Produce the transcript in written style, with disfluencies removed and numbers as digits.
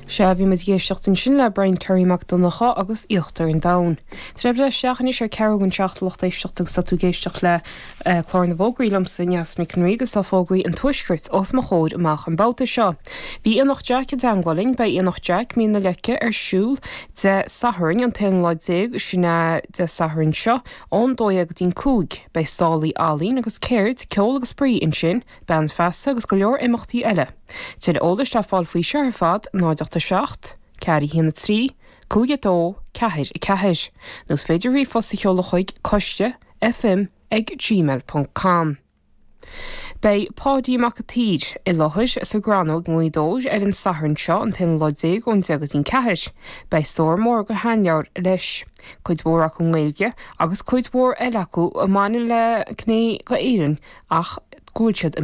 Sea, bhí muid ag éisteacht ansin le Brian Terry Mac Donncha agus Íochtar an Domhain. Tá sé isteach anois ar ceathrú don seacht a lucht éisteachta agus tá tú ag éisteacht le Clár na bhFógraí liomsa, Neasa Nic an Rí, agus tá fógraí an Tuaiscirt os mo chomhair amach an babhta seo. Bhí Aonach Jack i dteangmháil linn, beidh Aonach Jack, Mín na Leice ar siúl Dé Sathairn, an t-aonú lá déag, sin é Dé Sathairn seo, ón 12 go dtí'n 5. Beidh stálaí ealaíon agus ceird, ceol agus spraoi ansin. Bean Feasa agus go leor imeachtaí eile. Tuilleadh eolais le fáil faoi seo ar fad, 0 8 7 4 1 3 5 2 4 4 nó is féidir ríomhphost a sheoladh chuig coiste fm ag gmail ponc com. Beidh Páidí Mac a' tSaoir i láthair sa gCrannóg i nGaoth Dobhair ar an Satharn seo, an t-aonú lá déag ón 10 go dtí'n 4. Beidh stór mór de sheanleabhair leis, cuid mhór acu i nGaeilge agus cuid mhór eile acu a mbaineann le gné d'Éirinn ach go bhfuil siad i.